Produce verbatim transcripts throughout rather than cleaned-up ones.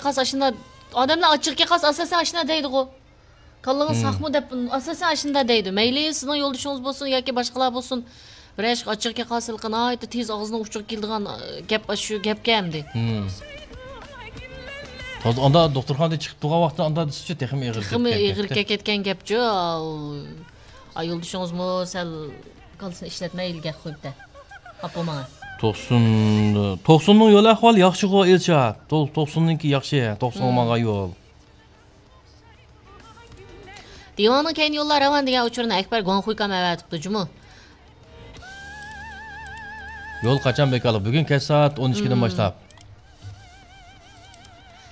قالسا ئاشۇنداق، ئادەملەر ئاچچىقى كەلسە ئاساسەن ئاشۇنداق دەيدىغۇ. كاللىڭىز ساقمۇ دەپ ئاساسەن ئاشۇنداق دەيدۇ. مەيلى سىزنىڭ يولدىشىڭىز بولسۇن ياكى باشقىلار بولسۇن، بىرەر ئىشقا ئاچچىقى كەلسە ھېلىقى ناھايىتى تېز ئاغزىنىڭ ئۇچىغا كېلىدىغان، ئە، گەپ ئاشۇ گەپكەن ئەمدى. ھازىر ئاندا دوختۇرخانىدىن چىقىپ تۇرغان ۋاقىتتا ئاندا دېسىچۇ تېخىمۇ ئېغىر تېخىمۇ ئېغىر كەتكەن گەپچۇ. ئا، يولدىشىڭىزمۇ سەل كاللىسىنى ئىشلەتمەي ھېلىگە قويۇپتە. ئاپا ماڭا. توقسۇن، توقسۇننىڭ يول ئەھۋالى ياخشىغۇ ئىلشات. تو-، توقسۇننىڭكى ياخشى، توقسۇنغا ماڭغان يول. دىۋانىڭ كەينى يوللار راۋان دېگەن ئۇچۇرنى ئەكبەر گۇاڭخۇيكام ئەۋەتىپتۇ جۇمۇ. يول قاچان بىكارلىق؟ بۈگۈن كەچ سائەت ئون ئىككىدىن باشلاپ.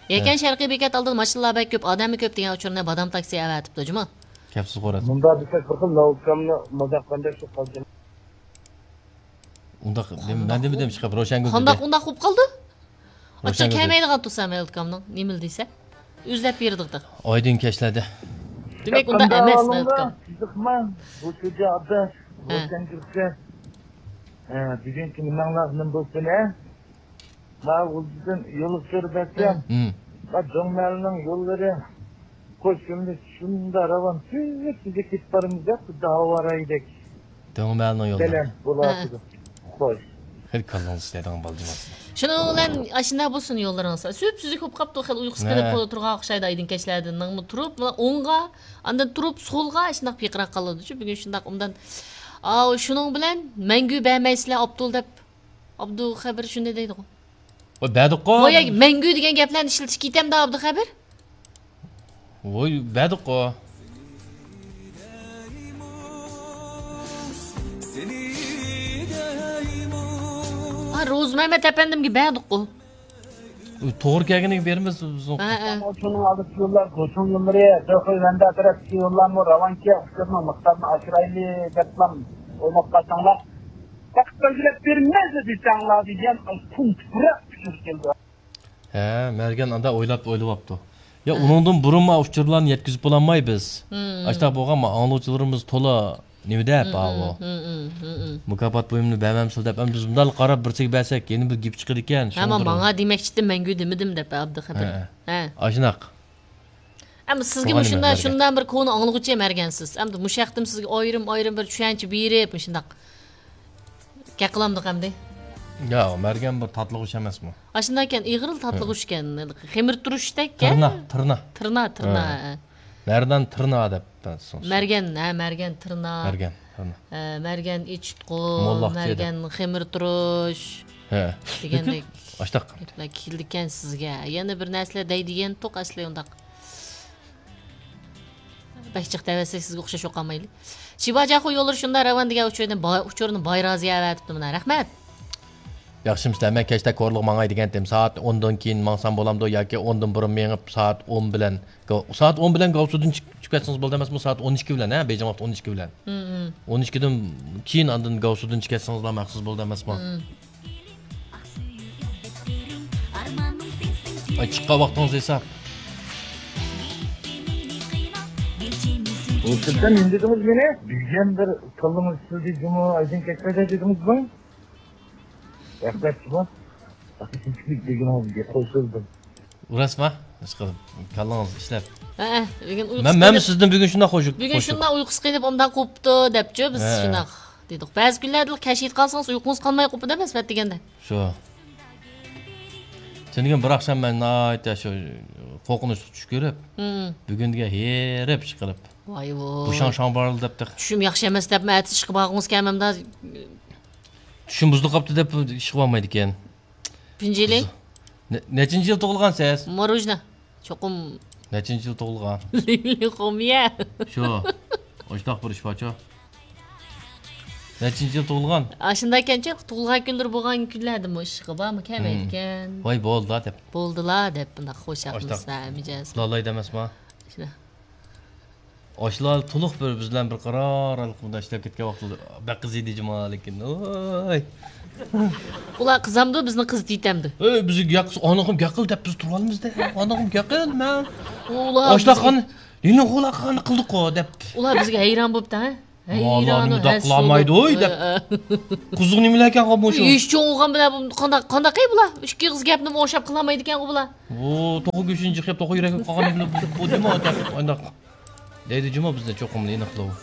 يەكەن شەرقىي بېكەت ئالدىدا ماشىنىلار بەك كۆپ، ئادەممۇ كۆپ دېگەن ئۇچۇرنى بادام تاكسى ئەۋەتىپتۇ جۇمۇ. كەپسىز خوراز. مۇنداق دېسەك بىر خىل لاۋۇكامنى مازاق قىلغاندەك چىقىپ قالدى. ئۇنداق دېمە، مەن دېمىدىم چىقىپ روشەنگۈل دېدى. قانداق ئۇنداق بولۇپ قالدى؟ ئاچچىق كەلمەيدىغان تۇرسا مەلىكامنىڭ نېمىلا دېسە ئۆزلەپ بېرىدىغۇ. ئايدىڭ كەچلەردە. دېمەك ئۇنداق ئەمەس مەلىكام. قىزىقما، بۇ شۇجا ئاداش، ھە. روشەنگۈلگە، ھە، بۈگۈنكى نېمەڭلار نېمە بولسۇن ھە؟ ما غۇلجىدىن يولغا چۆرۈپ بەرسەم، ما دۆڭمەلنىڭ يوللىرى قوشۇمنى شۇنداق راۋان تۈزۈك تۈزۈك كېتىپ بارىمىز دەپ خۇددى ھاۋارايدەك. دۆڭمەلنىڭ يوللىرى. بەلەن بولاتىدۇ. خوش. خېلى كاللاڭ ئىشلەيدىغان بالا جۇماسى. شۇنىڭ بىلەن ئاشۇنداق بولسۇن يوللىرىڭىز. سۈپسۈزۈك بولۇپ قاپتۇ، خېلى ئۇيقۇسى قېلىپ تۇرغان ئوخشايدۇ ئايدىڭ كەچلەردىن. نىڭمۇ تۇرۇپ، مانا ئوڭغا، ئاندىن تۇرۇپ سولغا ئاشۇنداق پىرقىراپ قالىدۇچۇ. بۈگۈن شۇنداق ئوبدان. ئاۋۇ شۇنىڭ بىلەن مەڭگۈ بەرمەيسىلەر ئابدۇل دەپ. ئابدۇخەبىر شۇنداق دەيدىغۇ. ۋاي بەردۇققۇ. ۋاي مەڭگۈ دېگەن گەپلەرنى ئىشلىتىش كېتەمدۇ ئابدۇخەبىر؟ ۋاي بەردۇققۇ. ھا روزمەمەت ئەپەندىمگە بەردۇققۇ. توغرا كەلگىنىگە بېرىمىز بىز. ھە، ھە. شۇنىڭ ئالدىدىكى يوللار، گوچۇڭ يوللىرى، دۆخۇي ۋەندە تەرەپتىكى يوللارمۇ راۋانكى، ئۇچۇرنىڭ مىقدارىنى ئاشۇرايلى دەپلا ئويلاپ قالساڭلار. ۋاقىت بەلگىلەپ بېرىمىز دېسەڭلار دېگەن پۇڭ تۇپراق ئۇچۇر كەلدى. ھە، مەرگەن ئاندا ئويلاپ، ئويلىۋاپتۇ. يا، ئۇنىڭدىن بۇرۇنمۇ ئۇچۇرلارنى يەتكۈزۈپ بولالماي بىز. ئاشۇنداق بولغان، ما ئاڭلىغۇچىلىرىمىز تولا نېمە دەپ، ئاۋۇ. مۇكاپات بۇيۇمىنى بەرمەمسىز دەپ، ئەمدى بىز مۇنداق قاراپ بىر چەتكە بەرسەك، يەنە بىر گېپى چىقىدىكەن. ھە، ماڭا دېمەكچىدى، مەڭگۈ دېمىدىم دەپ، ئابدۇخەبىر. ھە. ھە. ئاشۇنداق. ئەمما سىزگە مۇشۇنداق، شۇنداق بىر كونا ئاڭلىغۇچى مەرگەن سىز. ئەمدى مۇشۇ ھەقتىمۇ سىزگە ئايرىم، ئايرىم بىر چۈشەنچە بېرىپ، مۇشۇنداق گەپ قىلامدۇق ئەمدى. يا، مەرگەن بىر تاتلىغۇچ ئەمەسمۇ؟ ئاشۇنداق ئىكەن، ئېغىرلا تاتلىغۇچ ئىكەن. خېمىر تۇرۇشتەك. تىرنا، تىرنا. تىرنا، تىرنا. ھە. مەردان تىرنا دەپ. مەرگەن، ھە، مەرگەن تىرنا. مەرگەن تىرنا. ھە، مەرگەن ئىچىتقۇ، مەرگەن خېمىر تۇرۇش. ھە. دېگەندەك ئاشتاق گەپلەر كېلىدىكەن سىزگە. يەنە بىر نەرسىلەر دەيدىغان توق ئەسلى ئۇنداق. بەك جىق دەۋەتسەك سىزگە ئوخشاش بولۇپ قالمايلى. شىباجاخۇ يوللىرى شۇنداق راۋان دېگەن ئۇچۇرنى با-، ئۇچۇرنى بايرازىيە ئەۋەتىپتۇ مانا. رەھمەت. ياخشىمۇسىلەر، مەن كەچتە كورلىغا ماڭاي دېگەنتىم. سائەت ئوندىن كېيىن ماڭسام بولامدۇ ياكى ئوندىن بۇرۇن مېڭىپ سائەت ئون بىلەن، سائەت ئون بىلەن گاۋسۇدىن چىق-، چىقىپ كەتسىڭىز بولىدۇ ئەمەسمۇ؟ سائەت ئون ئىككى بىلەن، ھە، بېيجىڭ ۋاقتى ئون ئىككى بىلەن. ئون ئىككىدىن كېيىن ئاندىن گاۋسۇدىن چىقىپ كەتسىڭىزلا مەقسىز بولىدۇ ئەمەسمۇ؟ ئاي، چىققان ۋاقتىڭىز ھېساب. ئۇ سىزدىن نېمە دېدىڭىز مېنى؟ بۈگۈن بىر كاللىڭىز ئىشلىدى جۇمۇ، ئايدىن كەچمەيدۇ دېدىڭىزمۇ؟ رەھمەت جۇمۇ. دېگىنىڭىزگە قوشۇلدۇم. راستما؟ ئىشقىلىپ، كاللىڭىز ئىشلەپ. ھەئە، بۈگۈن ئۇيقۇسى مەن، مەنمۇ سىزدىن بۈگۈن شۇنداق خۇشۇق. بۈگۈن شۇنداق ئۇيقۇسى قېلىپ ئوبدان قوپتۇ دەپچۇ بىز شۇنداق دېدۇق. بەزى كۈنلەردە كەچ يېتىپ قالسىڭىز ئۇيقۇڭىز قالماي قوپىدۇ ئەمەسمۇ ئەتىگەندە. شۇ. سېنىڭ بىر ئاخشام مەن ناھايىتى شۇ قورقۇنچلۇق چۈش كۆرۈپ، بۈگۈن دېگەن ھېرىپ ئىشقىلىپ. ۋاي ۋاي. بۇشاڭ شاڭ بارلى دەپتۇ. چۈشۈم ياخشى ئەمەس دەپمۇ ئەتىسى ئىشقا بارغۇڭىز كەلمەمدۇ؟ چۈشۈم بۇزۇلۇپ قاپتۇ دەپ ئىشقا بارمايدىكەن. پىنجىلى؟ نە-، نەچچىنچى يىل تۇغۇلغان سىز؟ ماروژنا. چوقۇم. نەچچىنچى يىل تۇغۇلغان؟ لىلى خۇميە. شۇ. ئاشۇنداق بىر ئىش بارچۇ. نەچچىنچى يىل تۇغۇلغان؟ ئاشۇنداق ئىكەنچۇ، تۇغۇلغان كۈنلىرى بولغان كۈنلەردىمۇ ئىشقا بارمۇ كەلمەيدىكەن. ۋاي، بولدىلا دەپ. بولدىلا دەپ، بۇنداق خوش ئاشۇنداق مىجەز. ئۇخلالايدۇ ئەمەسما؟ شۇنداق. ئاشۇلار تولۇق بىر بىز بىلەن بىر قارار ئالقىمدا ئىشلەپ كەتكەن ۋاقتىدا بەك قىزىيدى جۇما، لېكىن، ۋاي. ئۇلار قىزامدۇ، بىزنى قىزىتىۋېتەمدۇ؟ ئەي، بىزگە گەق، ئانىغىم گەق قىل دەپ بىز تۇرۇۋالىمىز-دە. ئانىغىم گەق قىل، مەن. ئۇلار ئاشۇنداق بىزگە قان، لىنىڭ قولاققا قىلدۇققۇ دەپ. ئۇلار بىزگە ھەيران بوپتۇ، ھە؟ ھەيران، مۇنداق قىلالمايدۇ، ھە، دەپ. قىزىق نېمىلەركەن بۇ شۇ؟ ھېچ چوڭ بولغان بىلەن بۇ قانداق، قانداق ئەي بۇلار؟ ئىككى ئېغىز گەپنىمۇ ئوخشاپ قىلالمايدىكەن بۇلار. ئۇ توخۇ گۆشىنى جىقلاپ، توخۇ يۈرەكنى قالغان بىلەن بۇ، بۇ نېمە دەپ، ئانداق دەيدۇ جۇمۇ بىزنى چوقۇم ئېنىقلاۋۇ.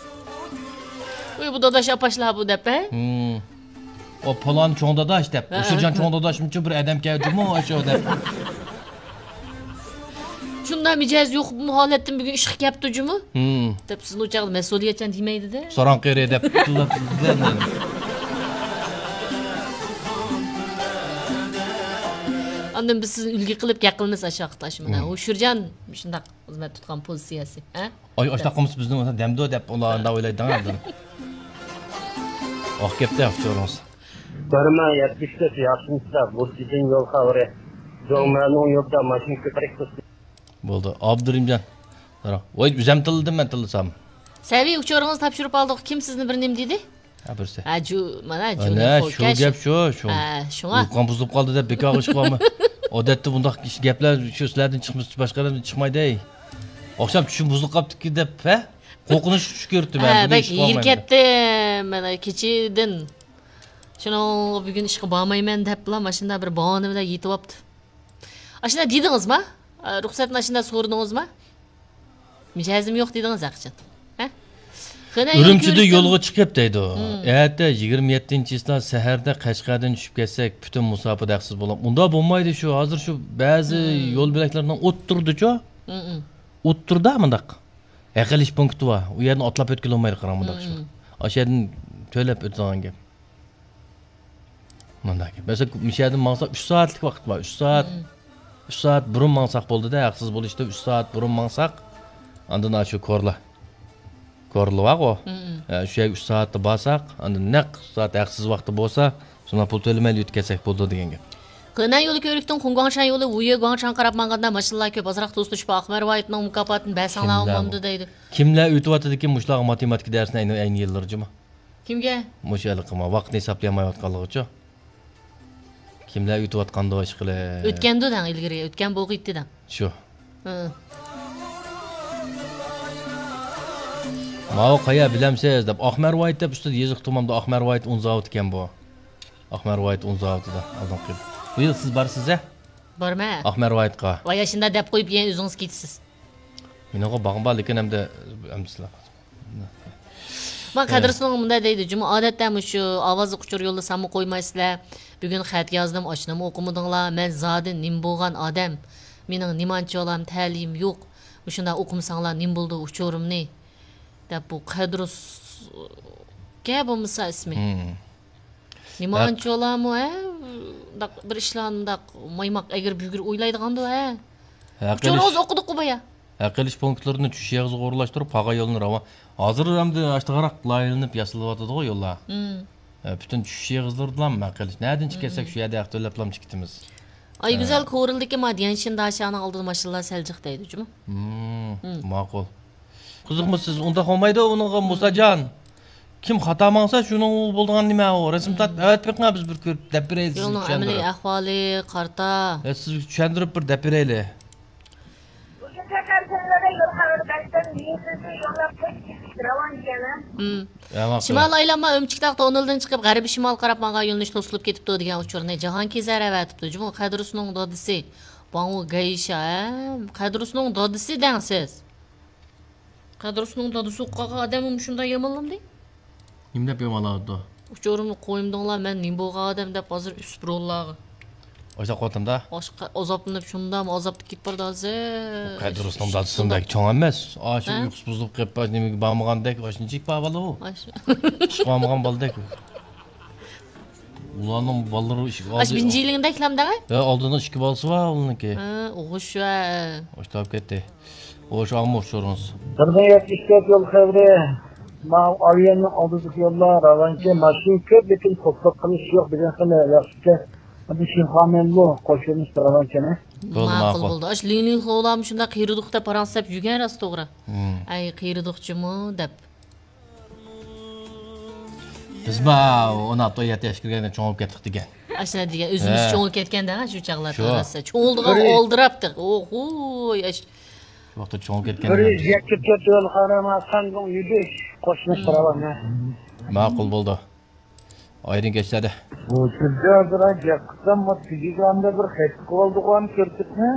ۋوي، بۇ داداش ئاپاشلار بۇ دەپ، ھە؟ ھىم. ئۇ پالان چوڭ داداش دەپ. ھە، ئۇشۇرجان ھە، چوڭ داداشمۇچۇ بىر ئادەم كەلدىمۇ ئاشۇ دەپ. شۇنداق مىجەز يوق بۇ ھالەتتىن بۈگۈن ئىشقا كەپتۇ جۇمۇ. ھىم. دەپ سىزنى ئۇ چاغدا مەسئۇلىيەتچان دېمەيدىدە. ساراڭ قېرى دەپ. ئاندىن بىز سىزنى ئۈلگە قىلىپ گەپ قىلىمىز ئاشۇ ۋاقىتتا، ئاشۇ مانا. ھىم. ئۇشۇرجان شۇنداق خىزمەت تۇتقان پوزىتسىيەسى، ھە؟ ئاي، ئاشۇنداق قىلمىسا بىزنى دەمدۇ دەپ ئۇلار ئانداق ئويلايدىغان ئادەم. ئاق گەپتە ئۇچۇرىڭىز. بىر مىڭ يەتمىش تۆت ياخشىمۇسىلەر؟ بۇ سىزدىن يول خەۋىرى. جوڭمەنىڭ يولىدا ماشىنا كۆپرەك تۇرسۇن. بولدى، ئابدۇرېھىمجان. ۋاي، ئۆزۈم تىللىدىم، مەن تىللىسام. سەۋىي، ئۇچۇرىڭىزنى تاپشۇرۇپ ئالدۇق. كىم سىزنى بىر نېمە دېدى؟ ھە، بىرسى. ھە، جۇ، مانا، ئەنە، جۇنى شۇ خوركەش. گەپ شۇ، شۇ. ھە، شۇڭا. يۇققان بۇزۇلۇپ قالدى دەپ بىكارغا ئىش قىلىۋالماي. ئادەتتە بۇنداق ئىش، گەپلەر شۇ سىلەردىن چىقمىسا باشقىلاردىن چىقمايدۇ. ئاخشام چۈشۈم بۇزۇلۇپ قاپتىكەن دەپ، ھە؟ قورقۇنچ چۈش كۆرۈپتىمەن. ھە، بۈگۈن بەك ئىش قىلالمايمەن. ھېرىپ كەتتىم. مانا كېچىدىن. شۇنىڭغا بۈگۈن ئىشقا بارمايمەن دەپلا ماشىنىدا بىر باھانە بىلەن يېتىۋاپتۇ. ئاشۇنداق دېدىڭىزما؟ ئا، رۇخسەتنى ئاشۇنداق سورىدىڭىزما؟ مىجەزىم يوق دېدىڭىز ھەقىچان. ھە؟ قېنى، ئۈرۈمچىدە يولغا چىقىپ دەيدۇ. ھىم. ئەتە يىگىرمە يەتتىنچى چىسلا سەھەردە قەشقەردىن چۈشۈپ كەتسەك، پۈتۈن مۇساپىدە ھەقسىز بولۇپ. ئۇنداق بولمايدۇ شۇ. ھازىر شۇ بەزى ھىم. يول بۆلەكلەرنىڭ ئوتتۇرىدىچۇ. ھىم، ھىم. ئوتتۇرىدا مۇنداق ھەق ئېلىش پونكىتى بار. ئۇ يەردىن ئاتلاپ ئۆتكىلى بولمايدۇ، قاراڭ، مۇنداق شۇ. ھىم. ئاشۇ يەردىن تۆلەپ ئۆتىدىغان گەپ. مۇنداق گەپ. مەسىلەن، مۇشۇ يەردىن ماڭساق، ئۈچ سائەتلىك ۋاقىت بار. ئۈچ سائەت، مم. ئۈچ سائەت بۇرۇن ماڭساق بولدى-دە، ھەقسىز بولۇشتا ئۈچ سائەت بۇرۇن ماڭساق، ئاندىن ئاشۇ كورلا. كورلا بارغۇ. مم. ئە، شۇ يەرگە ئۈچ سائەتتە بارساق، ئاندىن نەق ئۈچ سائەت ھەقسىز ۋاقىتتا بولسا، شۇنداق پۇل تۆلىمەيلا يۆتكەپ كەتسەك بولىدۇ دېگەن گەپ. خېنەن يولى كۆۋرۈكتىن خۇڭگۇاڭشەن يولى ۋۇيې گۇاڭشەنگە قاراپ ماڭغاندا ماشىنىلار كۆپ، ئازراق توسۇلۇشۇپ، ئاقمەر ۋايىتنىڭ مۇكاپاتىنى بەرسەڭلار بولمامدۇ دەيدۇ. كىملەر ئۆتۈۋاتىدىكىن مۇشۇلارغا ماتېماتىكا دەرسىنى ئەينى، ئەينى يىللىرى جۇمۇ؟ كىمگە؟ مۇشۇ ھېلىقى ما ۋاقىتنى ھېسابلىيالمايۋاتقانلىقىچۇ. كىملەر ئۆتۈۋاتقاندۇ ئىشقىلىپ؟ ئۆتكەندۇ دەڭ ئىلگىرى، ئۆتكەن بولغىيتتى دەڭ. شۇ. ھە. ماۋۇ قايا بىلەمسىز دەپ، ئاقمەر ۋايىت دەپ ئۈستىدە يېزىق تۇمامدا ئاقمەر ۋايىت ئۇن زاۋۇتى ئىكەن بۇ. ئاقمەر ۋايىت ئۇن زاۋۇتىدا ئالدىنقى. بۇ يىل سىز بارسىز ھە؟ بارمەن. ئاقمەر ۋايىتقا. ۋاي ئاشۇنداق دەپ قويۇپ يەنە ئۆزىڭىز كېتىسىز. مېنىڭغۇ باغىم بار، لېكىن ئەمدى، ئەمدى سىلەر. ما، ھە. قەدرىسىنىڭ مۇنداق دەيدۇ، جۇمۇ ئادەتتە مۇشۇ ئاۋازلىق ئۇچۇر يوللىساممۇ قويمايسىلەر. بۈگۈن خەت يازدىم، ئاشۇنىمۇ ئوقۇمىدىڭلار. مەن زادى نېمە بولغان ئادەم؟ مېنىڭ نېمانچىۋالام، تەلىيىم يوق. مۇشۇنداق ئوقۇمىساڭلار نېمە بولىدۇ ئۇچۇرۇمنى؟ دەپ بۇ قەدرۇسكە بولمىسا ئىسمى. ھىم. نېمانچىۋالامۇ، ھە؟ مۇنداق بىر ئىشلار مۇنداق مايماق ئەگرى-بۈگرى ئويلايدىغاندۇ، ھە؟ ھەق ئېلىش، ئۇچۇرىڭىز ئوقۇدۇققۇ بايا. ھەق ئېلىش پونكىتلىرىنى چۈشۈش ئېغىزىغا ئورۇنلاشتۇرۇپ، قاغا يولىنى راۋان. ھازىر ئەمدى ئاشتىغاراق لايىھەلىنىپ ياسىلىۋاتىدىغۇ يوللار. مم. ھە، پۈتۈن چۈشۈش ئېغىزلىرىدىلا ھەق ئېلىش. نەدىن چىقىۋەتسەك، شۇ يەردە ھەق تۆلەپلا چىقىتىمىز. ئايگۈزەل ھە. كورلىدىكى ما ديەنشىن داشانىڭ ئالدىدا ماشىنىلار سەل جىق دەيدۇ جۇمۇ. مم، مم. ماقۇل. قىزىقمۇ سىز ئۇنداق بولمايدۇ ئۇنىڭغا، مۇساجان. كىم خاتا ماڭسا، شۇنىڭ بولىدىغان نېمە ئۇ؟ رەسىم تارتىپ ئەۋەتىپ بېقىڭ، بىز بىر كۆرۈپ دەپ بېرەيلى سىزگە يولنىڭ ئەمەلىي چۈشەندۈرۈپ. ئەھۋالى قارتا. ھە، سىزگە چۈشەندۈرۈپ بىر دەپ بېرەيلى. مۇشۇ سەپەر سىلەرگە يول خەۋىرى بەرسەم، مېنى سىزگە يوللاپ قويۇپ راۋان دېگەن. مم. ھە، ماقۇل. شىمال ئايلانما ئۆمچىكتاغ توننېلدىن چىقىپ، غەربىي شىمال قاراپ ماڭغان يۆنىلىش توسۇلۇپ كېتىپتۇ دېگەن ئۇچۇرنى جاھانكېزەر ئەۋەتىپتۇ. جۇمۇ قەدرۇسنىڭ دادىسى. باڭۋۇ گەيشا، ھە؟ قەدرۇسنىڭ دادىسى دەڭ سىز. قەدرۇسنىڭ دادىسى بولۇپ قالغان ئادەممۇ مۇشۇنداق يامانلامدى؟ نېمە دەپ يامانلاۋاتىدۇ؟ ئۇچۇرۇمنى قويمىدىڭلار، مەن نېمە بولغان ئادەم دەپ ھازىر ئۈسۈپ روللارغا. ئاشۇنداق قىلىۋاتامدا؟ ئاشقا ئازابلىنىپ، شۇنداقمۇ ئازابتا كېتىپ بارىدۇ ھازىر. قەدرۇسنىڭ دادىسىمۇ بەك چوڭ ئەمەس. ئاشۇ ھە؟ ئۇيقۇسى بۇزۇلۇپ قېلىپ، نېمىگە بارمىغاندەك، ئاشۇنچىلىك بار بالا ئۇ. ئاشۇ. ئىشقا بارمىغان بالىدەك. ئۇلارنىڭ بالىلىرى ئىش-، ئاشۇ ئالدى-، بىنجىلىڭدەكلەمدە؟ ھە، ئالدىنىڭ ئىككى بالىسى بار ئۇنىڭكى. ھە، ئوغۇش ۋە. ئاشتاپ كەتتى. ئوغۇش ئالما ئۇچۇرىڭىز. بىر مىڭ يەتمىش تۆت يول خەۋىرى. ماۋۇ ئاۋىئاننىڭ ئالدىدىكى يوللار راۋانچە، ماشىنا كۆپ، لېكىن توختاپ قېلىش يوق دېگەن خېلى ياخشىكەن. ئەمدى شىنخۇامەنمۇ قوشۇلۇش راۋانچەنى. بولدى، ماقۇل، ماقۇل. بولدى. ئاشۇ لىڭلىڭخۇلارمۇ شۇنداق قېرىدۇق دەپ پاراڭ سەپ يۈرگەن راست توغرا. ھىم. ئەي، قېرىدۇقچىمۇ دەپ. بىز ما ئون ئالتە، يەتتە ياشقا كىرگەندە چوڭ بولۇپ كەتتۇق دېگەن. ئاشۇنداق دېگەن، ئۆزىمىز ھە. چوڭ بولۇپ كەتكەندە، شۇ چاغلاردا شۇ. راسا. چوڭ بولىدىغان بىر ئالدىراپتۇق. ئوھوي، ئاش-، ۋاقتى چوڭىيىپ كەتكەن. بىر يۈز يەتتە تۆت يىل قارىما ساندۇڭ يۈدۈش قوشمىس قىلىۋالما. ماقۇل بولدى. ئايرىڭ كەچلەردە. بۇ سىزگە ھازىر گەپ قىلسام، بۇ تېلېگرامدا بىر خەت قىلىۋالدىغان كۆرسەتمە.